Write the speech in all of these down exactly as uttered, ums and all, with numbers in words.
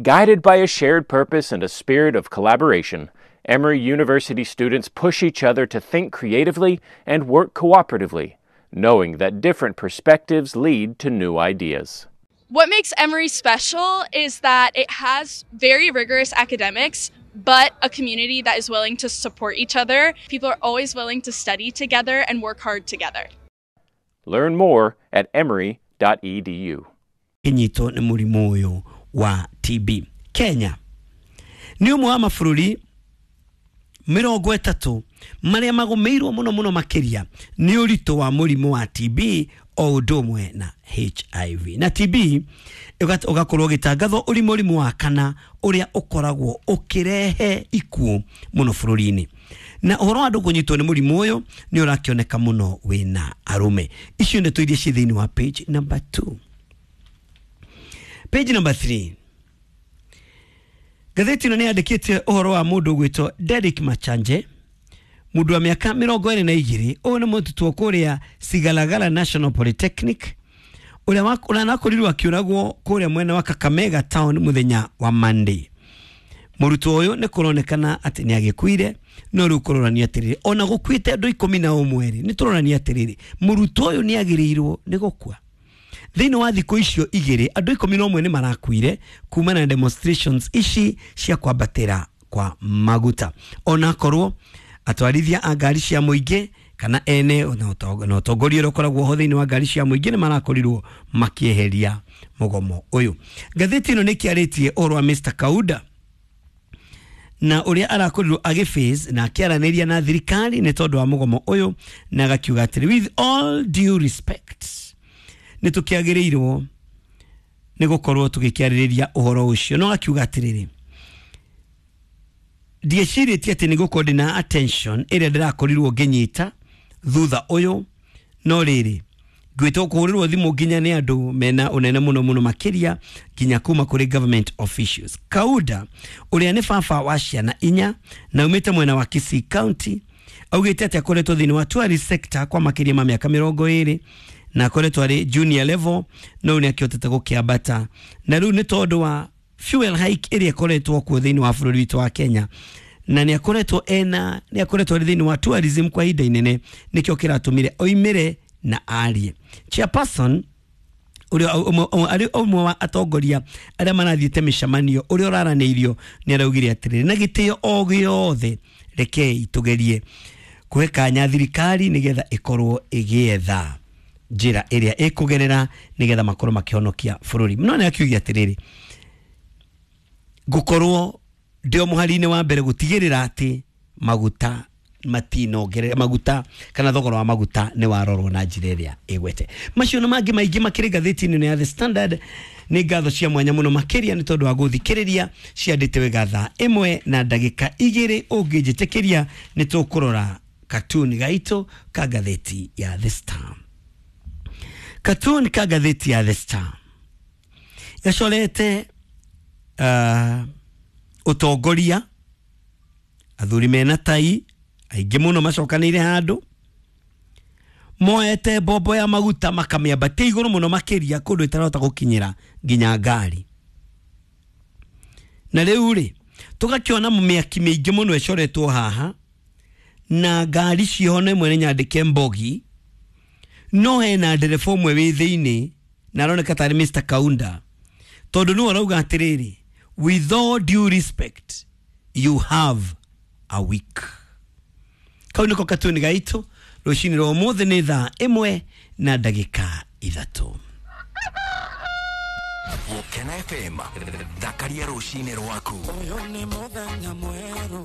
Guided by a shared purpose and a spirit of collaboration, Emory University students push each other to think creatively and work cooperatively, knowing that different perspectives lead to new ideas. What makes Emory special is that it has very rigorous academics, but a community that is willing to support each other. People are always willing to study together and work hard together. Learn more at emory dot e d u. Kinyitwo nĩ mũrimũ ũyũ wa T B. Kenya nĩ ũmwe wa mabũrũri mĩrongo ĩtatũ marĩa magũmĩirwo mũno mũno makĩria nĩ ũritũ wa mũrimũ wa T B o ũndũ ũmwe na H I V. Na T B ũgakorwo ũgĩtangathwo ũrĩ mũrimũ wa kana ũrĩa ũkoragwo ũkĩrehe ikuũ mũno bũrũri-inĩ. Na ũhoro wa andũ kũnyitwo nĩ mũrimũ ũyũ nĩ ũrakĩoneka mũno wĩna arũme. Icio nĩ tũiria ciĩ thĩinĩ wa page number two. Page number three. Ngathĩti ĩno nĩ yandĩkĩte ũhoro wa mũndũ ũgwĩtwo Derek Machanje, mũndũ wa mĩaka mĩrongo ĩrĩ na igĩrĩ. Ũyũ nĩ mũrutwo kũrĩa Sigalagala National Polytechnic, ũrĩa ũranakorirwo akĩũragwo kũrĩa mwena wa Kakamega town mũthenya wa Monday. Mũrutwo ũyũ nĩ kũronekana atĩ nĩ agĩkuire, no rĩu kũronania atĩrĩrĩ, ona gũkuĩte andũ ikũmi na ũmwe rĩ, nĩ tũronania atĩrĩrĩ, mũrutwo ũyũ nĩ agĩrĩirwo nĩ gũkua. Thĩinĩ wa thikũ icio igĩrĩ andũ ikũmi na ũmwe nĩ marakuire kumana na demonstrations ici cia kwambatĩra kwa maguta. Onakorwo atwarithia a ngari cia mũingĩ kana ene na ũtongoria ũrĩa ũkoragwo ho thĩinĩ wa ngari cia mũingĩ nĩ marakorirwo makĩeheria mũgomo ũyũ. Ngathĩti ĩno nĩ kĩarĩtie ũhoro wa Mister Kauda na ũrĩa arakorirwo agĩface na akĩaranĩria na thirikari nĩ tondũ wa mũgomo ũyũ, na agakiuga atĩrĩ, with all due respect, nĩ tũkĩagĩrĩirwo nĩ gũkorwo tũgĩkĩarĩrĩria ũhoro ũcio. No akiuga atĩrĩrĩ, ndiecirĩtie atĩ nĩ gũkorwo ndĩna attention ĩrĩa ndĩrakorirwo ngĩnyita thutha ũyũ, no rĩrĩ ngwĩtwo kũhũrĩrwo thimũ nginya nĩ andũ mena ũnene mũno mũno makĩria nginya kuma kũrĩ government officials. Kauda ũrĩa nĩ baba wa ciana inya na umĩte mwena wa Kisii County augĩte atĩ akoretwo thĩinĩ wa tourist sector kwa makĩria ma mĩaka mĩrongo ĩrĩ na akoretwo arĩ junior level, no nĩ akĩhotete gũkĩambata, na rĩu nĩ tondũ wa fuel hike ĩrĩa ĩkoretwo kuo thĩinĩ wa bũrũri witũ wa Kenya, na nĩ akoretwo ena nĩ akoretwo arĩ thĩinĩ wa tourism kwa ihinda inene, nĩkĩo kĩratũmire oimĩre na arie. Chairperson ũrĩa arĩ ũmwe wa atongoria arĩa marathiĩte mĩcemanio ũrĩa ũraranĩirio nĩ araugire atĩrĩrĩ, na gĩtĩo o gĩothe rekei tũgerie kũhe kanya thirikari nĩgetha ĩkorwo ĩgĩetha njĩra ĩrĩa ĩkũgerera nĩgetha makorwo makĩhonokia bũrũri. No nĩ akiugia atĩrĩrĩ, ngũkorwo ndĩ o mũhari-inĩ wa mbere gũtigĩrĩra atĩ maguta matinongerera maguta kana thogora wa maguta nĩ warorwo na njĩra ĩrĩa ĩgwete. Macio na mangĩ maingĩ makĩrĩ ngathĩti-inĩ ya The Standard. Nĩ ngatho cia mwanya mũno makĩria nĩ tondũ wa gũthikĩrĩria ciandĩte wega thaa ĩmwe na ndagĩka igĩrĩ. Ũngĩnjĩtĩkĩria nĩ tũkũrora katuni gaitũ ka ngathĩti ya The Star. Katuni ka ngathĩti ya The Star gacorete uh, ũtongoria athuri mena tai aingĩ mũno macokanĩire handũ moete mbombo ya maguta makamĩambatia igũrũ mũno makĩria kũndũ ĩtarahota gũkinyĩra nginya ngari. Na rĩu rĩ tũgakĩona mĩaki mĩingĩ mũno ĩcoretwo haha na ngari ciho na ĩmwe nĩ nyandĩke mbogi, no hena ndereba ũmwe wĩ thĩinĩ na aroneka tarĩ Mister Kaunda, tondũ nĩwe arauga atĩrĩrĩ, with all due respect you have a week. Kau nĩko katuni gaitũ rũcinĩ rwa ũmũthĩ nĩ thaa ĩmwe na ndagĩka ithatũ. Gũkena F M, thakaria rũcinĩ rwaku. Ũyũ nĩ mũthenya mwerũ.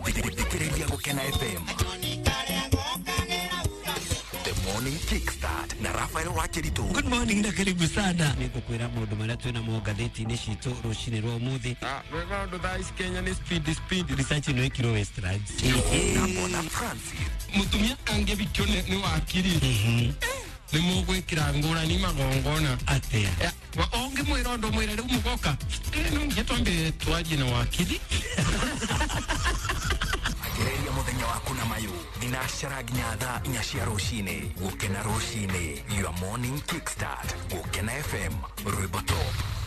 Thikĩrĩria Gũkena F M. The Morning Kickstart na Raphael Wakiritu. Good morning na karibu sana. Nĩngũkwĩra maũndũ marĩa twĩna mo ngathĩti-inĩ citũ rũcinĩ rwa ũmũthĩ. Ah, rwĩmbo rũndũ thaa ici Kenya nĩ speed speed. Research ĩno ĩkirwo Westlands. Na Bona Francis. Mũtumia angĩbikio nĩ wakiri. Nĩ mũgwĩkĩra ngũrani magongona. Atĩa? Ũngĩmwĩra ũndũ mwĩre rĩu mũgoka. No nginya twambe twarie na wakiri. Anjĩrĩria mũthenya waku na mayũ thinacara nginya thaa inya cia rũcinĩ. Gũkena rũcinĩ, your morning kickstart. Gũkena F M, rwĩmbo top.